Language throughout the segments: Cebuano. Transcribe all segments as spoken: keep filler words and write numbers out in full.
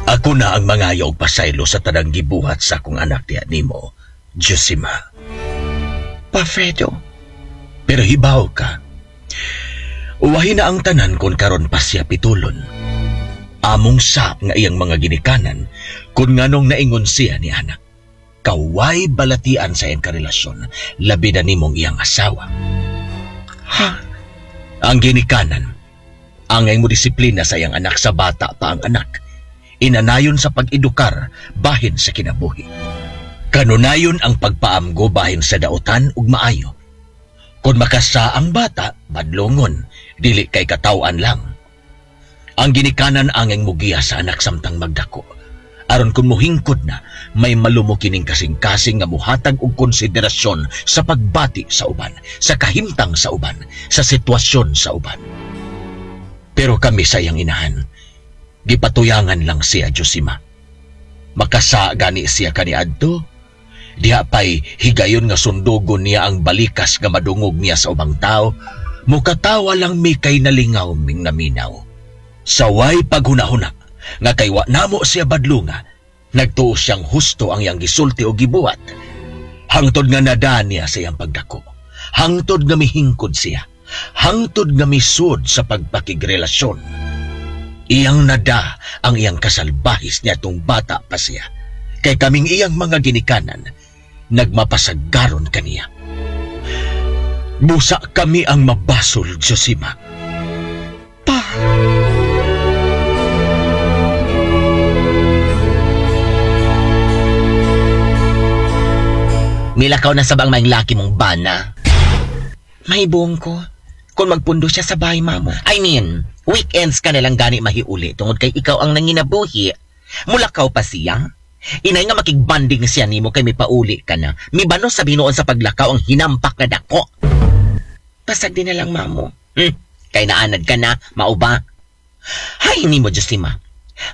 Ako na ang mangayo og pasaylo sa tanang gibuhat sa akong anak diha nimo, Josima. Pa Fredo, Pero hibaw ka. Uwahi na ang tanan kung karon pa siya pitulon. Among sa nga iyang mga ginikanan kung nganong naingon siya ni anak. Kaway balatian sa iyang karelasyon, labi na nimong iyang asawa. Ha? Ang ginikanan, angay mo disiplina sa iyang anak sa bata pa ang anak. Inanayon sa pag-edukar bahin sa kinabuhi. Kanunayon ang pagpaamgo bahin sa dautan ug maayo. Kung makasa ang bata, badlongon, dili kay katawan lang. Ang ginikanan angay mugiya sa anak samtang magdako. Aron kung muhingkod na, may malumo kining kasing-kasing nga muhatag og konsiderasyon sa pagbati sa uban, sa kahimtang sa uban, sa sitwasyon sa uban. Pero kami sa iyang inahan, gipatuyangan lang siya, Josima. Makasa gani siya kaniadto. Diha pa'y higayon nga sundugon niya ang balikas nga madungog niya sa ubang tao. Mukatawa lang mi kay nalingaw ming naminaw. Saway paghunahuna nga kay wa namo siya badlunga, nagtuo siyang husto ang iyang gisulti o gibuhat. Hangtod nga nada niya sa iyang pagdako. Hangtod nga mihingkod siya. Hangtod nga misud sa pagpakigrelasyon. Iyang nada ang iyang kasalbahis niya tong bata pa siya. Kay kaming iyang mga ginikanan, nagmapasagaron kaniya. Busa kami ang mabasol, Josima. Pa! Milakaw na sabang maing laki mong bana. Mahibong ko. Kung magpundo siya sa bahay, mamo. I mean, weekends ka nalang gani mahiuli tungod kay ikaw ang nanginabuhi. Mulakaw pa siya. Inay nga makigbanding siya nimo kay mipauli ka na. Mibano sa binuon sa paglakaw ang hinampak na dako. Pasag din na lang, mamo. Hmm, kay naanad ka na, mauba. Hay, nimo, Josima.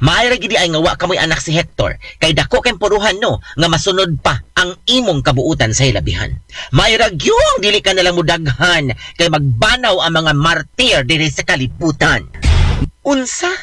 Maayra gidi ay nga wa kamoy anak si Hector. Kay dako kay puruhan no, nga masunod pa ang imong kabuutan sa hilabihan. Maayra gyud dili ka nalang mudaghan kay magbanaw ang mga martir diri sa kalibutan. Unsa?